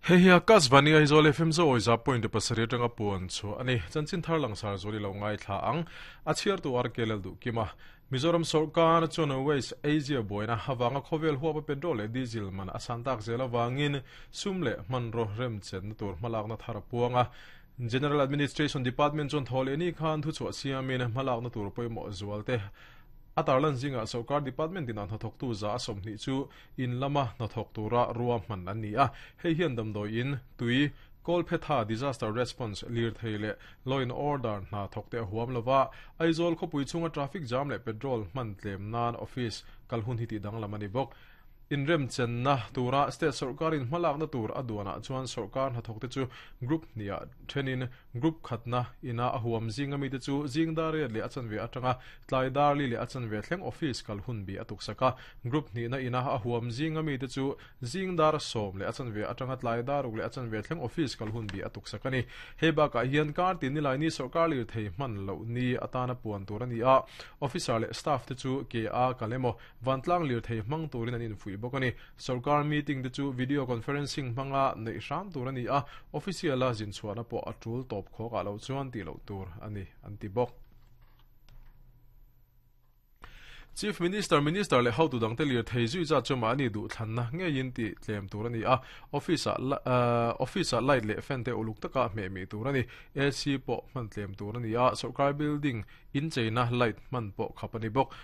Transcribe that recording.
Hei hi Akashvani Aizawl FM Zo Awiza point pasarih atanga puan chhuah a ni. Chanchin thar langsar zual i lo ngaithla ang. A chhiartu RK Lalduhkima. Mizoram sawrkar chuan West Asia buaina avanga khawvel huapa petrol leh diesel man a san tak zel avangin sum leh hmanraw remchenna tur hmalakna thar a puang a. General Administration Department chuan thaw leh ni khan thuchhuah siamin hmalakna tur pawimawh zualte a tarlan zingah sawrkar department inah hnathawktu za a 20 chu in lama hnathawk tura ruahman an ni a. Hei hian damdawi in, tui, Kawlphetha Disaster Response, lirthei leh Law and Order hna thawkte a huam lova, Aizawl khawpui chhunga traffic jam leh petrol hman tlem nan office kal hun hi tih danglam a ni bawk. Inremchenna tura state sawrkarin hmalakna tur a duanah chuan sawrkar hnathawkte chu group hniah thenin group khatna ina a huam zinga mite chu zing dar riat leh a chanve atanga tlai dar li leh a chanve thleng office kal hun bi a tuksak a. Group hnihna ina a huam zinga mite chu Zing dar 10 leh a chanve atanga tlai dar 6 leh a chanve thleng office kal hun bi a tuksak a ni. Hei bakah hian kar tin nilai ni sawrkar lirthei hman loh ni atana puan tur a ni a, officer leh staff te chu ke a kal emaw vantlang lirthei hmang turin an infuih bawk a ni. Sawrkar meeting te chu video conferencing hmanga neih hram tur a ni a, official a zinchhuahna pawh a tul tawp khawkah loh chuan tih loh tur a ni an ti bawk. Chief Minister, Minister leh hotu dangte lirthei zui zat chu mahni duhthlanna ngeiin tih tlem tur a ni a, office-ah office-ah light leh fan te uluk taka hmeh mih tur a ni. AC pawh hman tlem tur a ni a, sawrkar building incheina light hman pawh khap a ni bawk.